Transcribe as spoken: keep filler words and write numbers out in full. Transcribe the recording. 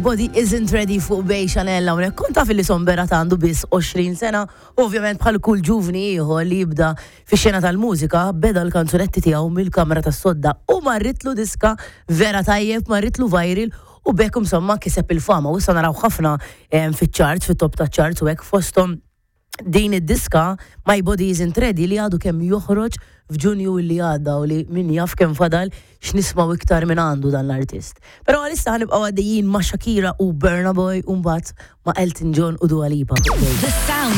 Body Isn't Ready fuq Bay Chanel hawnhekk. Kont taf li Son Berat għandu biss għoxrin sena, ovvjament bħal kull ġuvni ieħor li jibda fix-xena tal-mużika, beda l-kanzunetti tiegħu mill-kamra tas-sodda u marritlu diska vera tajjeb, marritlu viral u bekk insomma kiseb il-fama u issa naraw ħafna fiċ-charts, fit-top ta' charts u hekk, fosthom din id-diska My Body Isn't Ready li għadu kemm joħroġ f'Ġunju li għadda u li min jaf kemm fadal x'nismaw iktar minn għandu dan l-artist. Però għalissa ħa nibqgħu għaddejjin ma' Shakira u Burna Boy u mbagħad ma' Elton John u Dua Lipa. The sound